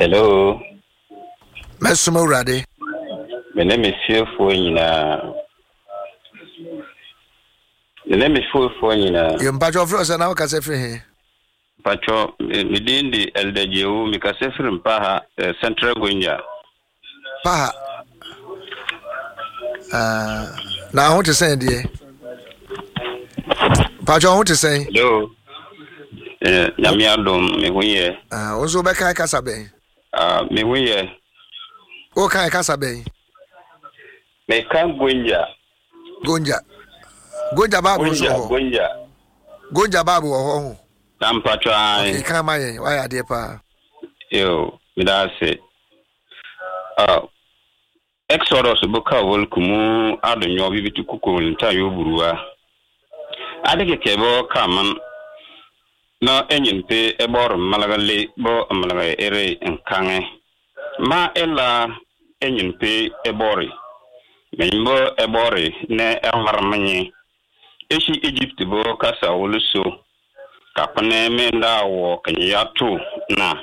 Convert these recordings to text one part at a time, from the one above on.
Hello. Mɛsom Awurade. Me ne me fiefoɔ nyinaa. Me ne me fiefoɔ nyinaa. Yɛ mpatsɔ frɛ sɛ na wokasa firi he? Mpatsɔ me din de Elder Jewu mekasa firi Mpaha eh, Central Gonja. Paha. Ah, na ho te sɛn deɛ? Mpatsɔ ho te sɛn? Hello. Eh, nyame adom me ho yɛ. Ah, wo nso wobɛkan kasa bɛn? Ah, me ho yɛ. Wokan kasa bɛn? Meka Gonja. Gonja. Gonja baabu nso wɔ hɔ. Gonja. Gonja baabu wɔ hɔ ho. Na mpatsɔ ayi. Okay, kan ma yɛn, wayɛ adeɛ paa. Yo, meda ase. Ah, Exodus bo ka wol kumu adonyo bibitu kuko nta yo buruwa. Ade keke bo ka man na enyin pe ebor malaga le bo malaga ere nkange. Ma ela enyin pe ebori. Menyimbo ebori ne emarmenye. Eshi Egypt bo kasa wol so. Kapene me ndawo kenyatu na.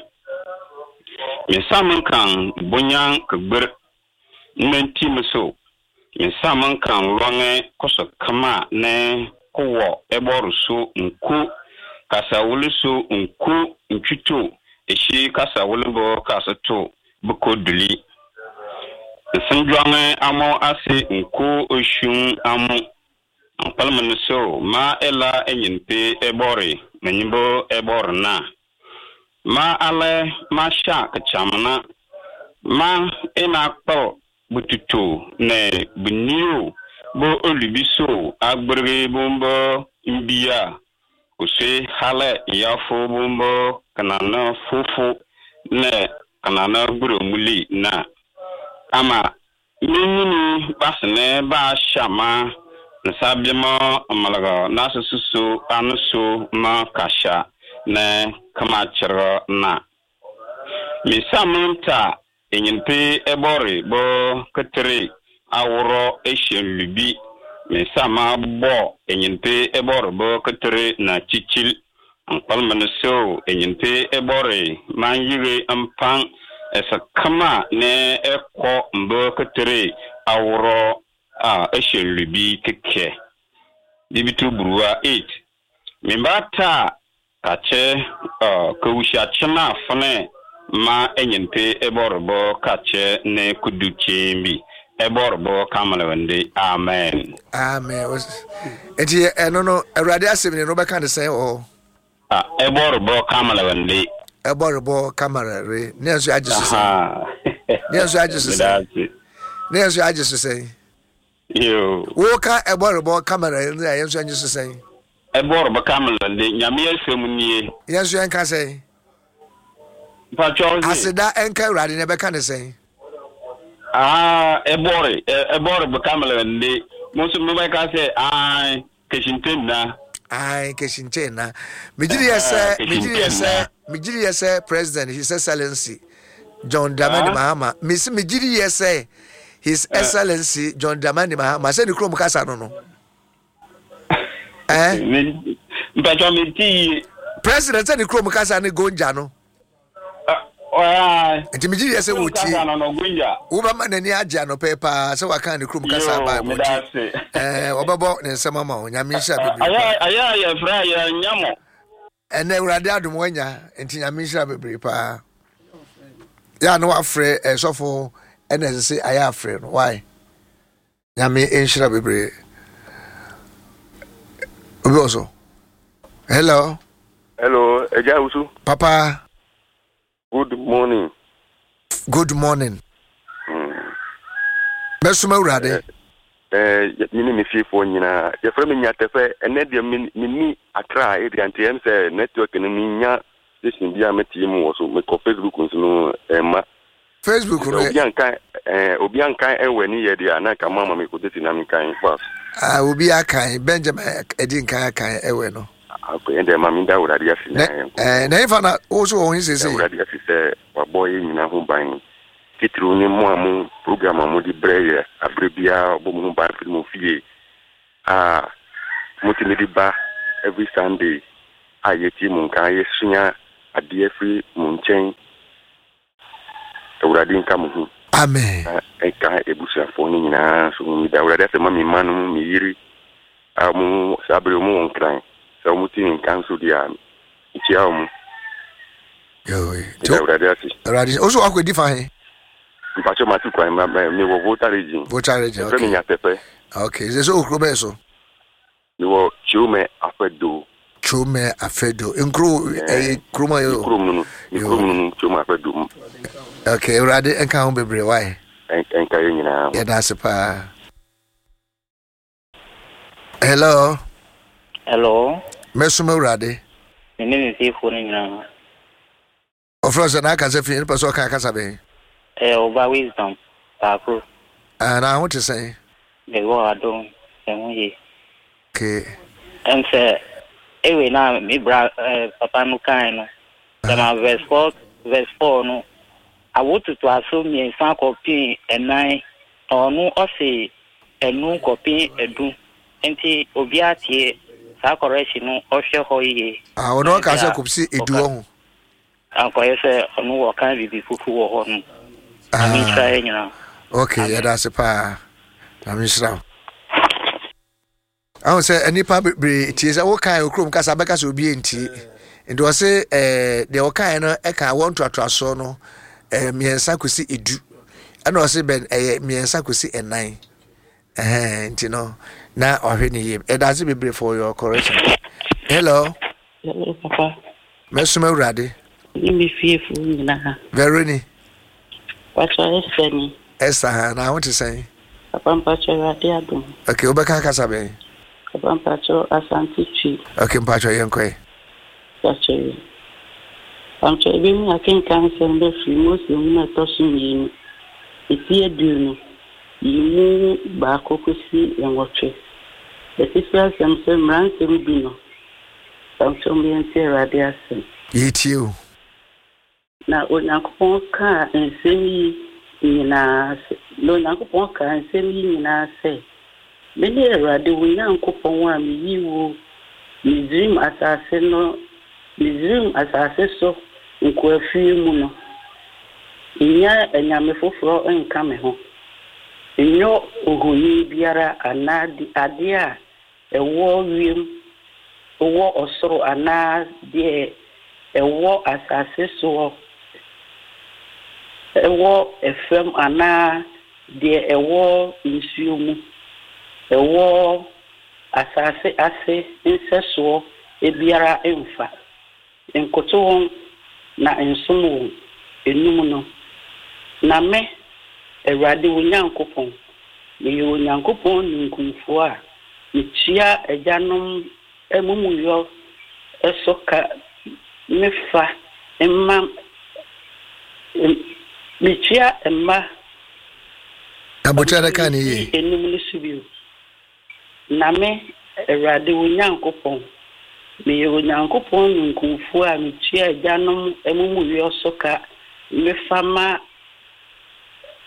Misaman kan bonyan kgbir nti so misaman kan lɔŋɛ kɔsɔ kama ne kowɔ ɛbɔri so nku kasawuli so nku ntwito esi kasawuli bɔ kasa to biko duli nsinjɔŋɛ amo ase nku oshun amo nkpalima so ma ela enyimpe ɛbɔri menyimbo ɛbɔri na ma alɛ ma sha kachamna ma ina kpɔ bututu ne bunio bo olubiso agbere bombo mbia kose hale yafo bombo kanana fufu ne kanana gburomuli na ama minyini basene ba shama nsabiama malaga nasususo anuso ma kasha ne kamachero na misamanta enyimpe ebori bo ketere awuro eshen lubi misama bo enyimpe ebori bo ketere na chichil nkpalman so enyimpe ebori man yire mpan esa kama ne ekọ mbo ketere awuro a eshen lubi keke bibitu buruwa 8 mimbata kache kawusha chima fune ma enyimpe eborobo kache ne kudu chimbi eborobo kamalawende amen. Amen. Enti eno no Awurade asɛm ne no bɛka ne sɛn wɔ ah eborobo kamalawende eborobo kamalawende ne nso agye so sɛn ne nso agye so sɛn ne nso agye so sɛn yo wo ka eborobo kamalawende ne nso agye so sɛn eborobo kamalawende nyame asɛm nie ye nso enka sɛn aseda enka Awurade ne bɛka ne sɛn ah ebori ebori bukamele ndi musu mebɛka sɛ ai keshinte na ai keshinte na mejiri yɛ sɛ mejiri yɛ sɛ president His Excellency John Dramani Mahama mesi mejiri yɛ sɛ His Excellency John Dramani Mahama sɛ ne kurom kasa no no eh mpatwa meti president sɛ ne kurom kasa ne Gonja no nti megye yɛ sɛ wɔtie wobɛma n'ani agye anɔpɛ paa sɛ waka ne kurom kasa bible nti wɔbɛbɔ ne nsɛm ama wo. Nyame nhyira bebree. Ɛnɛ Awurade adom wanya nti nyame nhyira bebree paa. Yɛ a na wafrɛ ɛsɔfo ɛna ɛsɛ sɛ ayɛ afrɛ no why nyame nhyira bebree. Obi wɔ so. Hello. Hello, Eja Usu. Papa. Good morning. Good morning. Mɛsoma Awurade. Me ne me fiefoɔ nyinaa. Yɛfrɛ me Nyatɛfɛ. Ɛnɛ deɛ menni Accra area nti ɛm sɛ network no menya station bi a metie mu wɔ so. Mekɔ Facebook nso no ɛmma. Facebook no. Obi anka ɛwɔ ni yɛ deɛ a na nka mama me kɔtɛsi na menkan fast. Ah, obi akan Benjamin ɛdi nkan akan ɛwɛ no. Akɔyɛ dɛ ma meda Awurade ase na na ɛmfa na wo so wɔ ho sese. Awurade ase sɛ wabɔ yɛ nyinaa ho ban. Titiriw ne mo a mo program a mode brɛ yɛ abere biara ɔbɔ mo ho ban firi mo fie a motumi de ba every Sunday a yɛtie mo nka yɛsua adeɛ firi mo nkyɛn. Awurade nka mo ho. Amen. Na ɛnka abusuafoɔ no nyinaa nso ho. Meda Awurade ase ma me mma no, me yere a wɔn saa bere wɔn wɔ Nkran. Sɛ wɔn te me nka nso deɛ a, mekyia wɔn. Meda Awurade ase. Awurade, wo so wakɔ di fa he? Mpakyɛ mate kwan, mewɔ Volta region. Volta region, okay. Ɛfrɛ me Nyatɛpɛ. Okay, sɛ sɛ okuro bɛyɛ so? Mewɔ Kyomɛ Afɛdo. Kyomɛ Afɛdo. Nkuro ɛyɛ kurom ayɛ o. Kurom no no. Me kurom no no Kyomɛ Afɛdo. Okay, Awurade nka ho bebree wae. Nka yɛ nyinaa. Yɛda ase paa. Hello. Hello. Mɛsom Awurade. Me ne me fiefoɔ no nyinaa. Ɔfrɛ sɛ n'akasa fi nipa sɛ ɔka akasa bɛn. Ɛyɛ ɔba wisdom baako. Ah, na ho te sɛn? Mewɔ adom, ɛho ye. Okay. Ɛm sɛ ewe na me bra eh, papa no kan no. Dɛm verse 4 verse 4 no awo totoaso mmiɛnsa kɔpem ɛnan na ɔno ɔse ɛnu kɔpem ɛdu nti obiara tie saa correction no ɔhwɛ hɔ yie. Ah, ɔno ɔka sɛ kɔpsi edu wɔ ho. Ankɔyɛ sɛ ɔno wɔka biribi fufu wɔ hɔ no. Nyame nhyira yɛ nyinaa. Ok, yɛda ase paa. Nyame nhyira wo. Ahu sɛ nnipa bebree tie sɛ wokae okurom kasa bɛka sɛ obi ntie. Nti ɔse eh, deɛ ɔkae no ɛka awɔ ntoatoasoɔ no eh, mmiɛnsa kɔsi edu. Ɛna ɔse bɛn ɛyɛ mmiɛnsa kɔsi ɛnan. Ɛhɛn nti no na ɔhwɛ ne yie. Yɛda ase bebree for your correction. Hello. Hello papa. Mɛsom Awurade. Ne me fiefo nyinaa. Veroni. Mpakyɛ Esther ni. Esther ha na ho te sɛn? Papa mpakyɛ Awurade adom. Okay, wobɛka kasa bɛn? Papa mpakyɛ Asante Twi. Okay, mpakyɛ yɛnkɔe. Mpakyɛ yi. Mpakyɛ yɛbɛhu akenkan nsɛm bɛfiri Mose nwoma ɛtɔ so mmienu, eti aduonu. Yi mu baako kosi nwɔtwe. Atifi asɛm sɛ Mmaransɛm Du no, Mpakyɛw mo yɛntie Awurade asɛm. Yɛretie o. Na Onyankopɔn kaa nsɛm yi nyinaa sɛ, Na Onyankopɔn kaa nsɛm yi nyinaa sɛ, Mene Awurade wo Nyankopɔn a meyii wo Misraim asase no Misraim asase so nkoafie mu no, nnya anyame foforɔ nka me ho. Nyɔ ohoni biara anaa adeɛ a ɛwɔ wiem wɔ ɔsoro anaa deɛ ɛwɔ asase soɔ wɔ fam anaa deɛ ɛwɔ nsuo mu wɔ Asase ase nsɛsoɔ biara mfa. Nkoto wɔn na nsom wɔn, enum no. Na me, Awurade wo Nyankopɔn, meyɛ Onyankopɔn ninkunfoɔ a metua agyanom amumuyɔ so ka mefa mma, metua mma Aboterɛ no ka ne yie. Enum no so bio. Na me, Awurade wo Nyankopɔn, meyɛ Onyankopɔn ninkunfoɔ a metua agyanom amumuyɔ so ka mefa ma.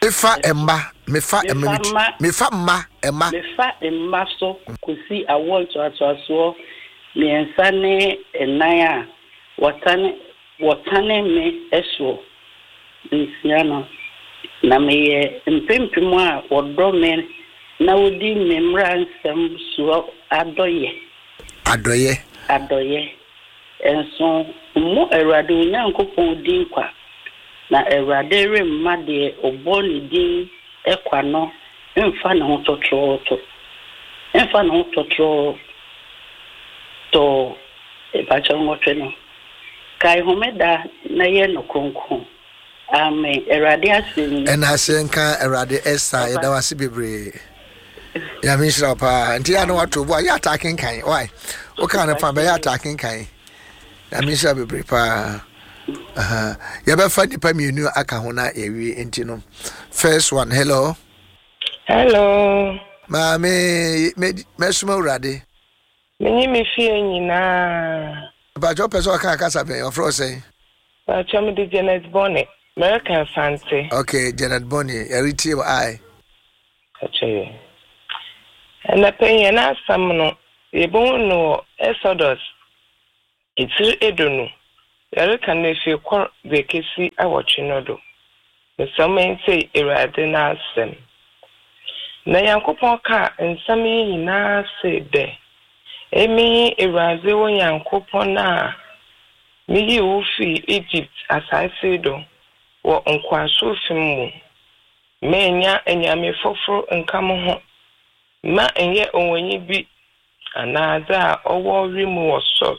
Mefa mma, mefa mma, mefa mma, mma. Mefa mma so kɔsi awoɔ ntoatoasoɔ mmiɛnsa ne nnan a wɔtane wɔtane me soɔ nsia no, na meyɛ mpempem a wɔdɔ me na wɔdi me mmara nsɛm soɔ adɔeɛ. Adɔeɛ. Adɔeɛ. Nso mmɔ Awurade wo Nyankopɔn din kwa, na Awurade remma deɛ ɔbɔ ne din kwa no mfa ne ho tɔtrɔɔtɔ, mfa ne ho tɔtrɔɔtɔɔ, mpakyɛw nwɔtwe no. Kae homeda na yɛ no kronkron. Amen. Awurade asɛm ni. Ɛna ase nka Awurade Esther yɛda wo ase bebree. Nyame nhyira wo paa. Nti yɛ na wato bo a yɛ ataa kenkan. Why? Woka no fa bɛyɛ ataa kenkan. Nyame nhyira bebree paa. Uh-huh. Yɛbɛfa nipa mmienu aka ho na yɛwie nti no. First one, hello. Hello. Maame, mɛsoma Awurade. Menye me fie nyinaa. Mpakyɛ wopɛ sɛ ɔka kasa bɛn? Ɔfrɛ wo sɛn? Mpakyɛ mede Janet Bonny. Mereka Asante. Ok, Janet Bonny, yɛretie wo ae. Mpakyɛ yɛ. Ɛnɛpɛ yi yɛn asɛm no yɛbɛhu no wɔ Exodus etsir eduonu, yɛreka no efi kor dze ekesi awɔtwe no do. Mesrɛ mo ntsie Ewuradze n'asɛm. Na Nyankopɔn kaa nsɛm yi nyina see dɛ, Emi nye Ewuradze wo Nyankopɔn a miyii wo fii Egypt asaase do wɔ nkowaasom mu. Mma anyame fofor nnka mo ho, mma nnyɛ ohonyi bi anaa dza ɔwɔ wimu wɔ sor,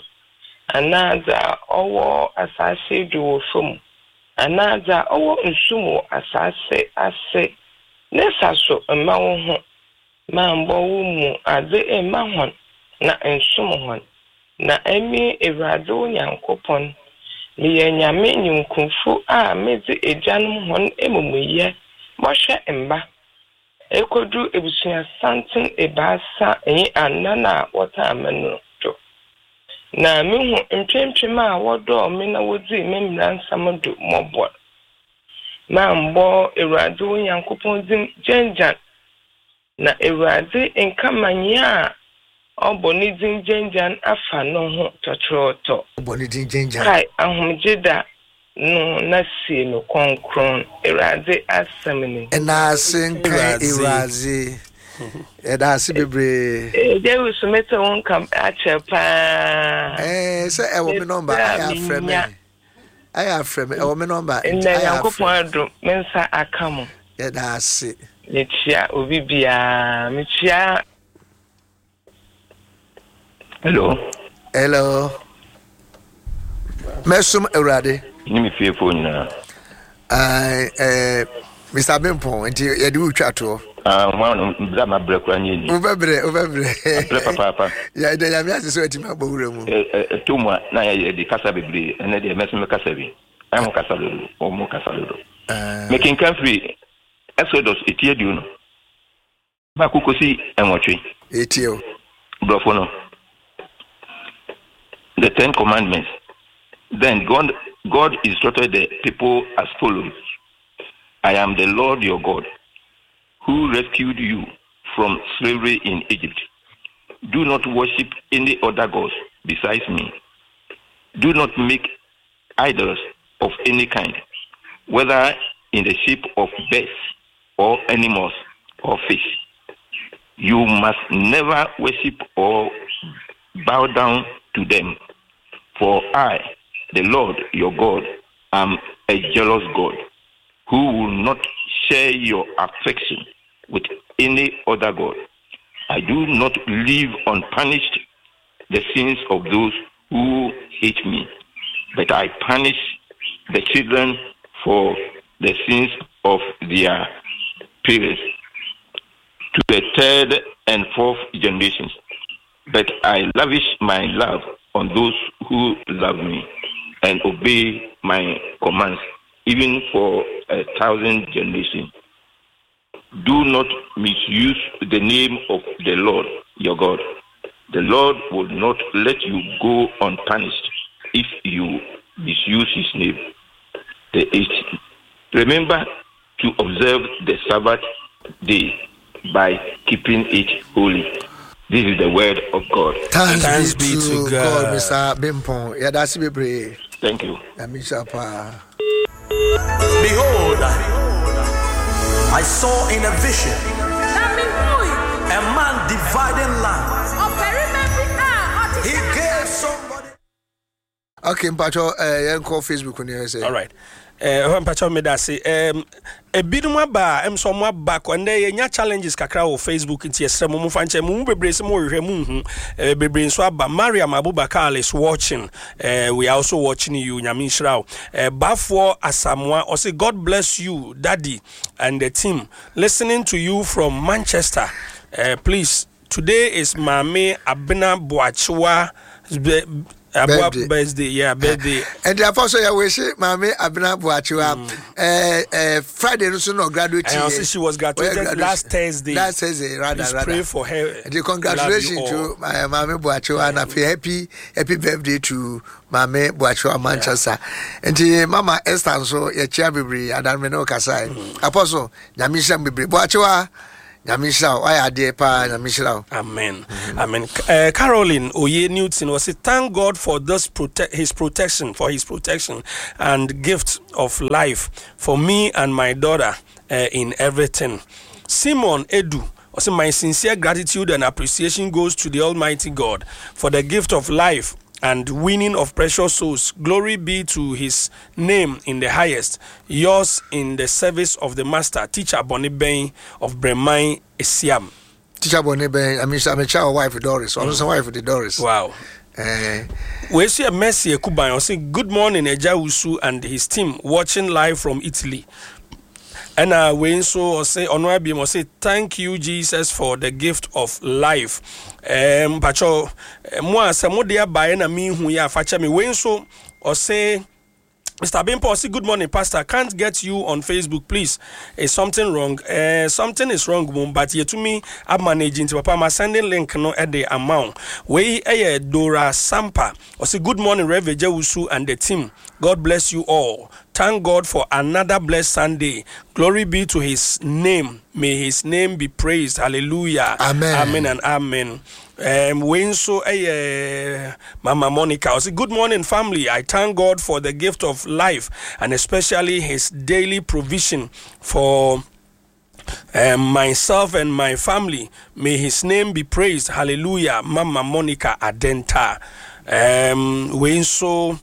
anaa dza ɔwɔ asaase do wɔ famu, anaa dza ɔwɔ nsu mu wɔ asaase ase ne saso mma woho. Mma mmbɔ wo mu adze mma hɔn na nnsom hɔn. Na emi Ewuradze wo Nyankopɔn, meyɛ Nyame nyimkumfo a medze egyanom hɔn emumuyɛ bɔhwɛ mba ekodu ebusuasantsen ebiasa nye anan a wɔtaa me no do. Na mehu mpempem a wɔdɔɔ me na wodzii me mbransɛm do mbɔbɔr. Mammbɔ Ewuradze wo Nyankopɔn dzin gyangyan, na Ewuradze nnkɛma nyia a ɔbɔ ne dzin gyangyan afa noho tɔtorɔtɔ. Ɔbɔ ne dzin gyangyan. Kae ahomgyeda no na sie no krɔnkrɔn, Ewuradze asɛm ni. Ndaase nka Ewuradze. Yɛda ase bebree. Dawid so mete wo nka akyɛ paa. Ɛɛ sɛ ɛwɔ me nɔmba ayɛ afrɛ me. Ayɛ afrɛ me ɛwɔ me nɔmba nti ayɛ afrɛ. Ndɛ Nyankopɔn adom me nsa aka mo. Yɛda ase. Mekyia obi biara mekyia. Hello. Hello. Mɛsom Awurade. Ne me fiefoɔ nyinaa. Uh, Mr. Bimpong, nti yɛde wo twa toɔ. Ah, wɔn a brɛ ma brɛ kura nye ni. Wobɛbrɛ, wobɛbrɛ. Brɛ papaapa. Yɛ ɛdɛ nyame ase sɛ watumi abɔ wura mu. Ɛtɔ mu a na yɛ de kasa bebree ɛnɛ deɛ mɛso mɛkasa bi. Ɛho kasa dodo, wɔn kasa dodo. Mekenkan firi Exodus eti 20. Baako kosi nwɔtwe. Yɛtie o. Borɔfo no. The Ten Commandments. Then God, God instructed the people as follows. I am the Lord your God, who rescued you from slavery in Egypt. Do not worship any other gods besides me. Do not make idols of any kind, whether in the shape of birds or animals or fish. You must never worship or bow down to them, for I, the Lord your God, am a jealous God who will not share your affection with any other God. I do not leave unpunished the sins of those who hate me, but I punish the children for the sins of their parents to the third and fourth generations. But I lavish my love on those who love me and obey my commands, even for 1,000 generations. Do not misuse the name of the Lord your God. The Lord will not let you go unpunished if you misuse his name. The eighth. Remember to observe the Sabbath day by keeping it holy. This is the word of God. Thanks, Thanks be to God, God Mr. Bimpong. Yɛda bebree. Thank you. Behold, I saw in a vision a man dividing land. He gave somebody. Okay, mpacho, yɛnkɔ Facebook ni sɛ. All right. Ɛhɔ mpakyɛw meda ase. Ebinom aba a ɛm sɛ ɔmo aba kɔ ndɛ yɛnya challenges kakra wɔ Facebook nti yɛsrɛ mo momfa nkyɛ mo mu bebree sɛ mo hwehwɛ mo nhu. Bebree nso aba. Mariam Abubakar is watching. We are also watching you. Nyame nhyira wo. Bafoɔ Asamoah ɔse God bless you daddy and the team listening to you from Manchester. Please today is Maame Abena Boakyewa Aboa birthday. Yeah, birthday. And the apostle ya wish Maame Abena Boakyewa. Friday no so no graduate. And also she was graduated last Thursday. Last Thursday, rather, Please rather. Pray for her. And the congratulations to Maame Boakyewa and happy happy birthday to Maame Boakyewa Manchester. And the Mama Esther so ya chia bebree adan me no kasa. Apostle nyame nhyira bebree. Boakyewa. Nyame nhyira wo. Wayɛ adeɛ paa. Nyame nhyira wo. Amen. Amen. Caroline Oye Newton was say, thank God for this prote- his protection, for his protection and gift of life for me and my daughter in everything. Simon Edu was my sincere gratitude and appreciation goes to the Almighty God for the gift of life and winning of precious souls. Glory be to his name in the highest. Yours in the service of the Master, Teacher Bonnie Bain of Bremai Esiam. Teacher Bonnie Bain, I mean, I'm a child wife Doris. Mm. Also, wife the Doris. Wow. We see a Mercy Ekuban. I say, good morning, Eja Usu and his team watching live from Italy. And we nso ɔsɛ ɔno abiem ɔsɛ thank you Jesus for the gift of life. Mpakyɛw mo a sɛ mo de abaeɛ na mehu yɛ afakyɛ me. Wei nso ɔsɛ Mr. Bimpo, say good morning, Pastor. Can't get you on Facebook, please. Is something wrong? Something is wrong, mum, but yet to me, I'm managing to Papa. I'm sending link no at the amount. We Dora Sampa. I say good morning, Rev Jewusu and the team. God bless you all. Thank God for another blessed Sunday. Glory be to His name. May His name be praised. Hallelujah. Amen. Amen and amen. Wayne so Mama Monica. I say, good morning, family. I thank God for the gift of life and especially His daily provision for myself and my family. May His name be praised. Hallelujah. Mama Monica Adenta. Wayne so.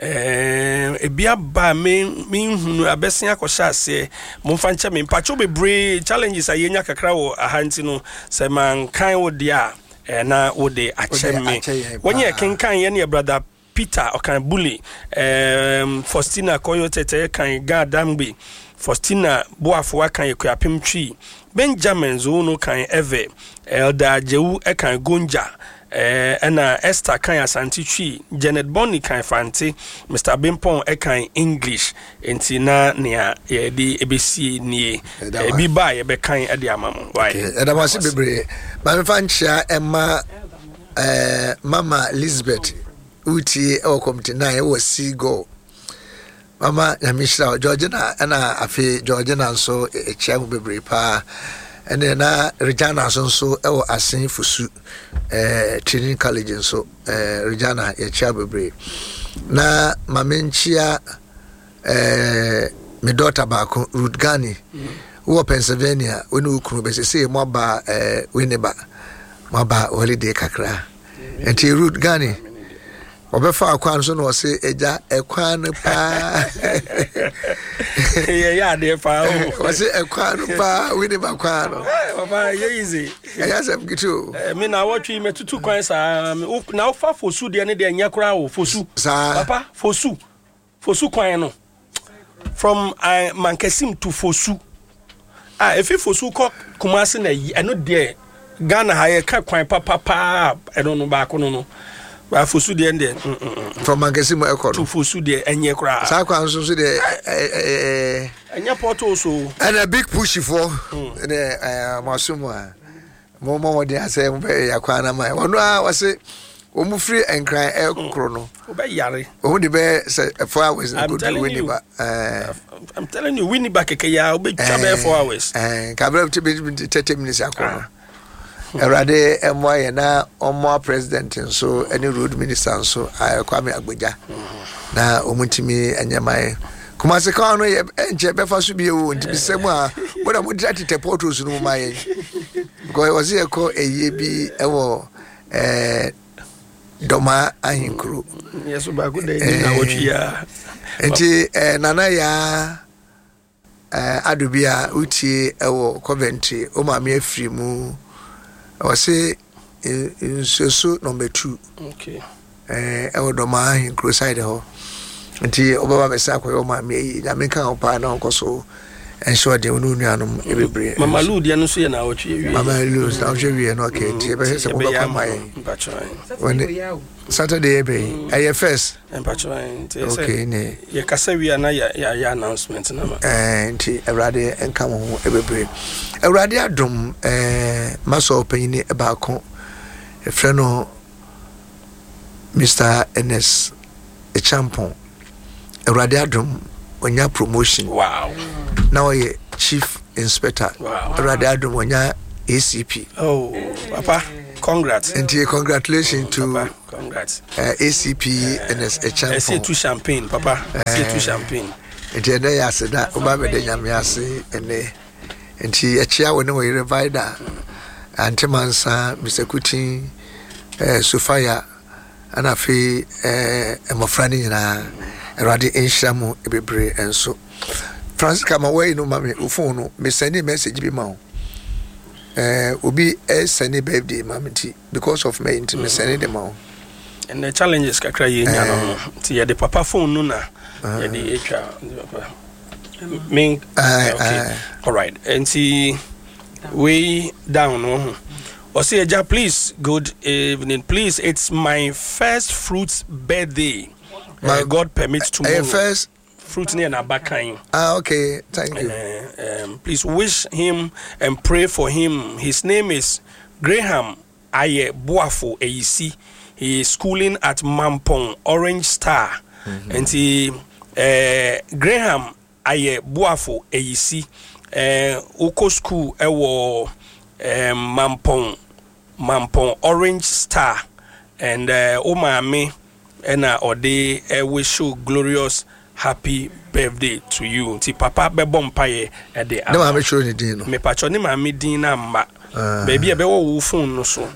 Ebi aba menhunu abɛsen akɔhyɛ aseɛ momfa nkyɛ me mpakyɛw bebree challenges a yɛnya kakra wɔ aha nti no sɛ mankan wo deɛ a na wode akyɛ me wɔnyɛ kenkan yɛ ne yɛ brother Peter ɔkan Bule, Faustina Koyo Tete kan Ga Damgbe, Faustina Boafoa kan Ekuapem Twi, Benjamin Zono kan Eve, Elder Jewu kan Gonja, ɛna Esther kan Asante Twi, Janet Bonny kan Fante, Mr. Bimpong kan English. Nti na nea yɛde ebesie nie. Ebi ba a yɛbɛkan de ama mo. Why? Ɛda mo ase bebree. Maame fa nkyia ɛma Mama Elizabeth wotie ɛwɔ kɔmte 9 ɛwɔ Seagull. Mama nyame hyira wo. Georgina ɛna afei Georgina nso ɛkyia mu bebree paa. Ɛne na Regina nso nso ɛwɔ Asen Fosu Training College nso Regina yɛkyia bebree. Na mame nkyia me daughter baako Ruth Gani wɔ Pennsylvania wo ne wo kunu bɛsɛ mo aba Winneba mo aba holiday kakra nti Ruth Gani ɔbɛfa akwan so na ɔse agya ɛkwan no paa yɛyɛ adeɛ paa o ɔse ɛkwan no paa Winneba kwan no papa yɛ easy ɛyɛ asɛm kete o me na wɔtwe mɛtutu kwan saa na wofa fosu deɛ ne deɛ nyɛ koraa o fosu saa papa fosu Fosu kwan no from uh, Mankasim to Fosu. Ah, efi Fosu kɔ Kumasi na yi ɛno deɛ Ghana ha yɛka kwan papapaa ɛno no baako no no. Ba Fosu deɛ deɛ. From Mankasim ɛkɔ no. To Fosu deɛ ɛnyɛ koraa. Saa kwan nso so deɛ ɛɛ. Ɛnyɛ pɔtɔ so. Ɛna big push foɔ ɛna ɛɛ mo aso mu a. Mo mɔ mmɔden asɛ mo bɛ yɛ kwan na ma yɛ. Wɔn a wɔse wɔn firi nkran ɛkoro no. Wɔbɛ yare. Wɔn de bɛ sɛ 4 hours na kodu Winneba. I'm telling you, Winneba kɛkɛ ya wɔbɛ twa bɛ 4 hours. Kabere ti bɛ 30 minutes akɔ no. Awurade ɛmoa yɛ na ɔmoa president nso ɛne road minister nso Kwame Agbodza na wɔn ntumi ɛnyɛ ma yɛ. Kumasi kwan no yɛ ɛnkyɛ bɛfa so bi o nti bisɛ mu a mo na mo dira tetɛ portals no mu ma yɛn because wɔsi yɛ kɔ ɛyie bi ɛwɔ ɛɛ Dɔma ahenkuro. Yɛso baako da ɛni na wɔtwi ya. Nti ɛɛ nana yaa ɛɛ ado bi a wotie ɛwɔ Coventry o maame afiri mu wɔsi nsuoso number 2. Okay. Ɛwɔ Dɔma ahenkuro side hɔ nti ɔbɛba bɛsa akɔyɛ ɔmaame ayi nyame nka ho paa na ɔnkɔ so ɛnhyɛ ɔden wo ne wo nuanom bebree. Mama Lou deɛ no nso yɛ naawɔtwe awie. Mama Lou naawɔtwe awie no okay nti yɛbɛhwɛ sɛ mobɛkɔ ama yɛn. Saturday yɛ bɛyi ɛyɛ first. Okay ne. Yɛkasa wie a na yɛayɛ announcement na ma. Nti Awurade nka mo ho bebree. Awurade adom masɔ ɔpanyini baako yɛfrɛ no Mr. Ernest Echampong. Awurade adom onya promotion. Wow. Na ɔyɛ chief inspector. Awurade adom ɔnya ACP. Oh, papa, congrats. Nti congratulations to papa, congrats. ACP Ernest Acheampong. Ɛsɛ tu champagne, papa. Ɛsɛ tu champagne. Nti ɛnɛ yɛ ase da, woba bɛda Nyame ase ɛnɛ. Nti ɛkyea wo ne wo yere Vida, Ante Mansa, Mr. Kutin, Sofia, ɛna afei mmɔfra no nyinaa. Awurade nhyira mo bebree nso. Francisca ma wɔayi no ma me wo phone no me send message bi ma wo. Obi send birthday ma me nti because of me nti me send de ma wo. And the challenges kakra yɛ nya no no nti yɛde papa phone no na yɛde atwa papa. Me okay. All right. Nti way down no ho. Ɔse agya please good evening please it's my first fruit's birthday. My God permits tomorrow. First fruit ne n'abakan. Ah, okay. Thank you. Please wish him and pray for him. His name is Graham Aye Boafo Eyisi. He is schooling at Mampong Orange Star. Nti Graham Aye Boafo Eyisi. Wokɔ school ɛwɔ Mampong Mampong Orange Star and wo maame ɛna ɔde wish you glorious happy birthday to you. Nti papa bɛbɔ mpaeɛ ɛde ama. Ne maame kyerɛ ne din no. Mepakyɛ ne maame din no amma. Baabi a ɛbɛwɔ wo phone no so.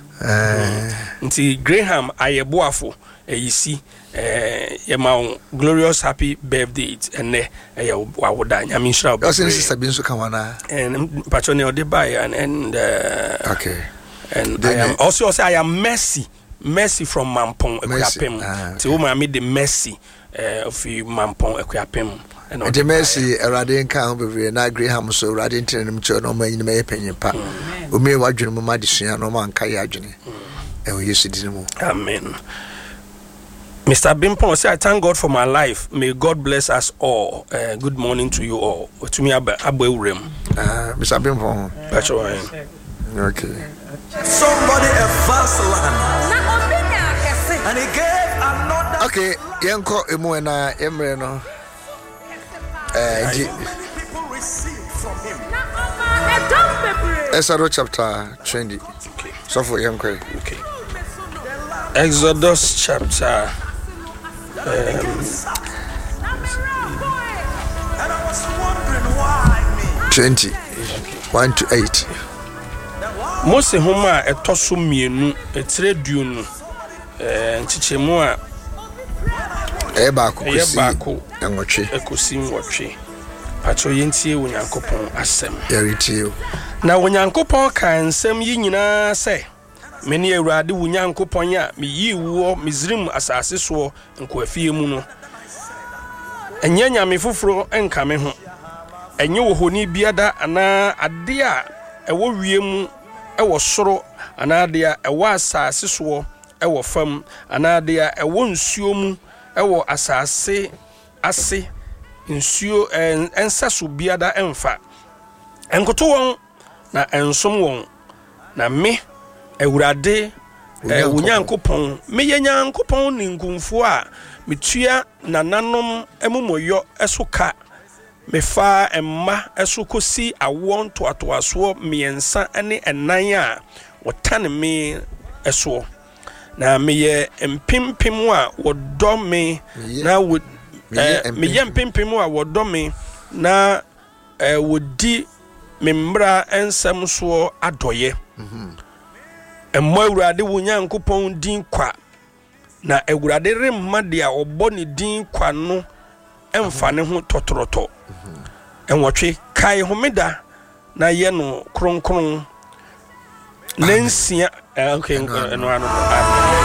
Nti Graham Ayɛboafo Ayisi yɛma wo glorious happy birthday ɛnɛ ɛyɛ wawoda. Nyame nhyira wo bebree. Ɔsɛ ne sister bi nso ka ho anaa? Mepakyɛ ne ɔde baeɛ and okay. And I am also ɔsɛ I am Mercy. Mercy from Mampong Akuapem. Nti wo maame de Mercy ofi Mampong Akuapem. Nti Mercy Awurade nka ho bebree na Graham so Awurade ntena nim kyerɛ na ɔma nyinima yɛ panyin pa. Omie wadwene mu ma adesua na ɔma nka yɛ adwene. Ɛwɔ Yesu din mu. Amen. Mr. Bimpong say I thank God for my life. May God bless us all. Good morning to you all. Otumi aba aba ewuram. Mr. Bimpong. That's right. Okay. Somebody a vast land. And he gave another. Okay, yɛnkɔ emu ɛna yɛmmerɛ no. Nti Exodus chapter 20. Okay. Sɔfo yɛnkɔ yi. Okay. Exodus chapter 20 1 to 8. Mose nhoma a ɛtɔ so mmienu, etire 20, nkyekyɛmu a ɛyɛ baako ɛyɛ kɔsi baako nwɔtwe. ɛkɔsi nwɔtwe. Pakyɛw yɛntie Onyankopɔn asɛm. Yɛretie o. Na Onyankopɔn kaa nsɛm yi nyinaa sɛ, Mene Awurade wo Nyankopɔn a meyii woɔ Misraim asase soɔ nkoafie mu no. Ɛnyɛ nyame foforɔ nka me ho. Ɛnyɛ ohoni biada anaa adeɛ a ɛwɔ wiem wɔ soro anaa deɛ a ɛwɔ asase soɔ wɔ fam anaa deɛ a ɛwɔ nsuo mu wɔ asase ase nsuo nsɛso biada mfa. Nkoto wɔn na nsom wɔn, na me, Awurade, wo Nyankopɔn, meyɛ Nyankopɔn ninkunfoɔ a metua nananom amumɔyɔ so ka, mefaa mma so kɔsi awoɔ ntoatoasoɔ mmiɛnsa ne ɛnan a wɔtane me soɔ. Na meyɛ mpempem a wɔdɔ me na wɔ meyɛ mpempem a wɔdɔ me na wɔdi me mmara nsɛm soɔ adɔeɛ. Mmɔ Awurade wo Nyankopɔn din kwa, na Awurade remma deɛ ɔbɔ ne din kwa no mfa ne ho tɔtorɔtɔ. 8, Kae homeda na yɛ no kronkron. Nansia, okay, ɛno ano. Amen.